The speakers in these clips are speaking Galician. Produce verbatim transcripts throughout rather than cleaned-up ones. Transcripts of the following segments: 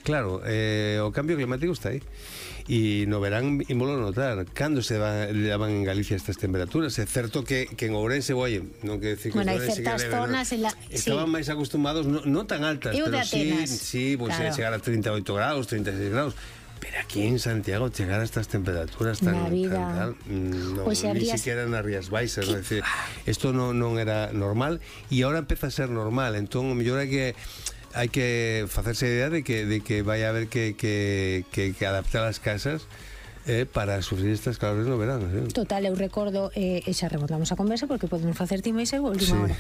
Claro, eh, o cambio climático está aí. E no verán ímolo notar. Cando se daban en Galicia estas temperaturas? É certo que, que en Ourense, oye, non que decir que bueno, hai Ourense certas que zonas no, en la... estaban sí. máis acostumados, non no tan altas, Eu pero de sí, Atenas. sí, pues claro. Chegar a treinta e oito graus, treinta e seis graus. Pero aquí en Santiago chegar a estas temperaturas tan, tan tal, no, pues ni habrías... siquiera nas Rías Baixas, é dicir, isto non, non era normal e agora empeza a ser normal, entón o mellor é que hai que facerse a idea de que, de que vai a haber que, que, que, que adaptar as casas eh, para sufrir estas calores no verano, ¿sí? Total, eu recordo, eh, e xa remontamos a conversa porque podemos facer time e ser última sí. hora.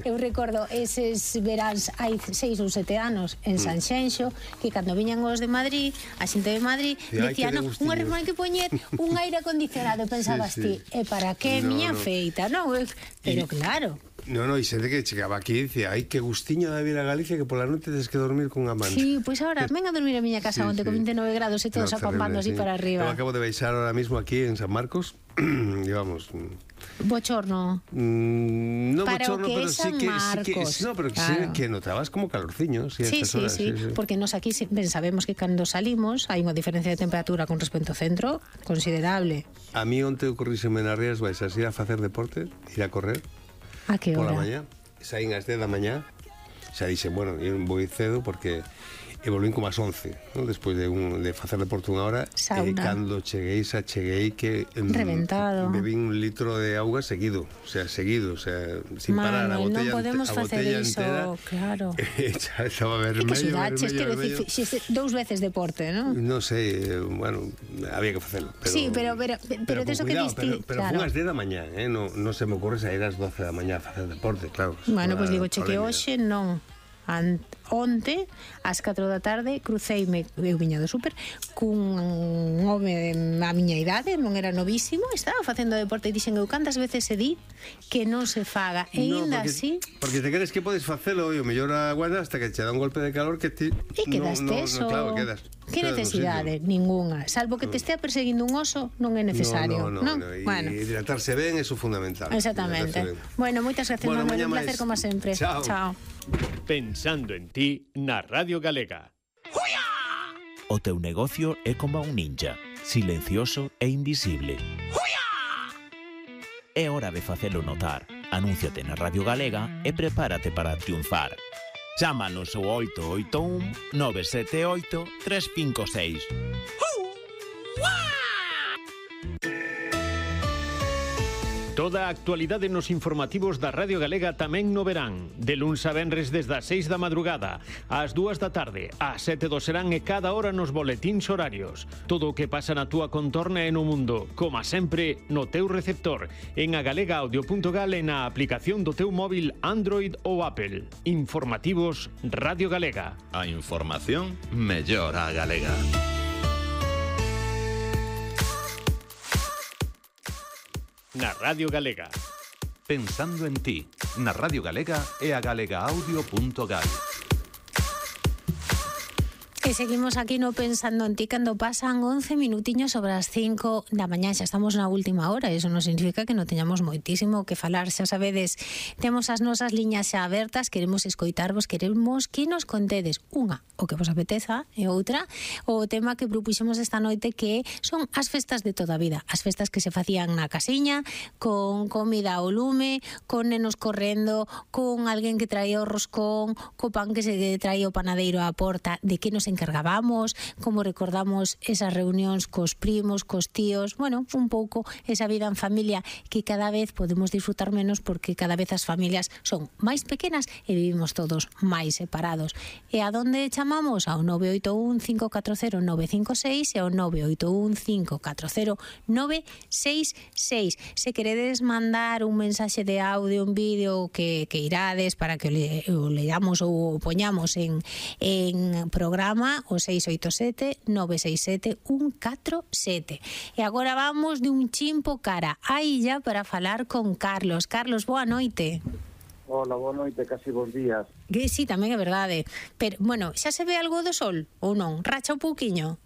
Eu recordo eses veráns hai seis ou sete anos en San Xenxo, que cando viñan os de Madrid, a xente de Madrid sí, decían, no, unha reforma que poñer un aire acondicionado, pensabas sí, sí. ti, e para que no, miña no. feita, non? Pero y... claro. No, no, e xente que chegaba aquí e dicía, ai, que gustiño de vir a Galicia que pola noite tens que dormir con amante. Sí, pois pues agora, venga a dormir a miña casa sí, onde sí. con vinte e nove grados e todos no, acampando así sí. para arriba. Eu acabo de baixar ahora mismo aquí en San Marcos, e vamos... Bochorno. Mm, no para bochorno, que pero sí que, sí que, no, pero claro. sí que notabas como calorciño, sí, sí, sí, horas, sí, sí, sí, porque nos aquí ben sabemos que cando salimos hai unha diferencia de temperatura con respecto ao centro considerable. A mí onte ocorríseme nas Rías Baixas ir a facer deporte, ir a correr. A que hora? Por la mañá. Saín ás dez da mañá, xa dixen, bueno, eu vou cedo porque e volvín como ás once, ¿no? Despois de, un, de facer deporte unha hora. E cando cheguei, xa cheguei que em, reventado. Bebín un litro de auga seguido, o sea, seguido, o sea, sin Mano, parar, a botella, non podemos a facer botella iso, entera, claro. Xa estaba vermello, que sudaches, vermello, vermello. Decir, si dous veces deporte, ¿no? Non sei, bueno, había que facelo. Pero, sí, pero pero pero, pero de eso que diste, pero, pero claro. Fun ás dez da mañá, eh, non no se me ocurre sair ás doce da mañá a facer deporte, claro. Bueno, pois pues digo, che que hoxe non. Ant, onte, ás catro da tarde, cruceime, eu viña do súper, cun home a miña idade, non era novísimo, estaba facendo deporte e dixen eu cantas veces se di que non se faga, e no, ainda porque, así... Porque te crees que podes facelo e o mellor aguarda hasta que che dá un golpe de calor que ti... E quedas no, teso... No, no, claro, quedas... Que necesidade? Ninguna. Salvo que te estea perseguindo un oso, non é necesario. No, no, no, no. E bueno. hidratarse ben é fundamental. Exactamente. Bueno, moitas gracias, bueno, Manuel, un placer como sempre. Chao. Chao. Pensando en ti na Radio Galega. O teu negocio é como un ninja, silencioso e invisible. É hora de facelo notar. Anúnciate na Radio Galega e prepárate para triunfar. Chámanos ao oito oito un nove sete oito tres cinco seis. Toda a actualidade nos informativos da Radio Galega tamén no verán. De luns a venres desde as seis da madrugada, ás dúas da tarde, ás sete do serán e cada hora nos boletíns horarios. Todo o que pasa na túa contorna e no mundo, como sempre, no teu receptor, en agalegaaudio punto gal e na aplicación do teu móvil Android ou Apple. Informativos Radio Galega. A información mellor a galega. Na Radio Galega. Pensando en ti, na Radio Galega e a galegaaudio punto gal. E seguimos aquí no Pensando en ti cando pasan once minutiños sobre as cinco da mañá. Xa estamos na última hora, eso non significa que non teñamos moitísimo que falar. Xa sabedes, temos as nosas liñas xa abertas, queremos escoitarvos, queremos que nos contedes unha, o que vos apeteza, e outra, o tema que propuxemos esta noite, que son as festas de toda a vida, as festas que se facían na casiña, con comida ao lume, con nenos correndo, con alguén que traía o roscón, co pan que se traía o panadeiro á porta, de que nos encargábamos, como recordamos esas reunións cos primos, cos tíos, bueno, un pouco esa vida en familia que cada vez podemos disfrutar menos porque cada vez as familias son máis pequenas e vivimos todos máis separados. E a donde chamamos? Ao nove oito un cinco catro cero nove cinco seis e ao nove oito un cinco catro cero nove seis seis. Se queredes mandar un mensaxe de audio, un vídeo que, que irades para que o, le, o leamos ou o poñamos en, en programa, o seis oito sete nove seis sete un catro sete. E agora vamos de un chimpo cara a illa para falar con Carlos. Carlos, boa noite. Hola, boa noite, casi bons días. Que sí, tamén é verdade. Pero, bueno, xa se ve algo do sol ou non? Racha un pouquiño?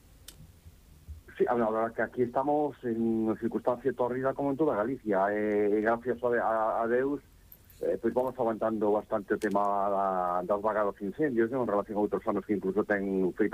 Sí, a verdade que aquí estamos en unha circunstancia torrida como en toda Galicia, e gracias a, a, a Deus eh, pois vamos aguantando bastante o tema da, das vagadas incendios, non? En relación a outros anos que incluso ten feito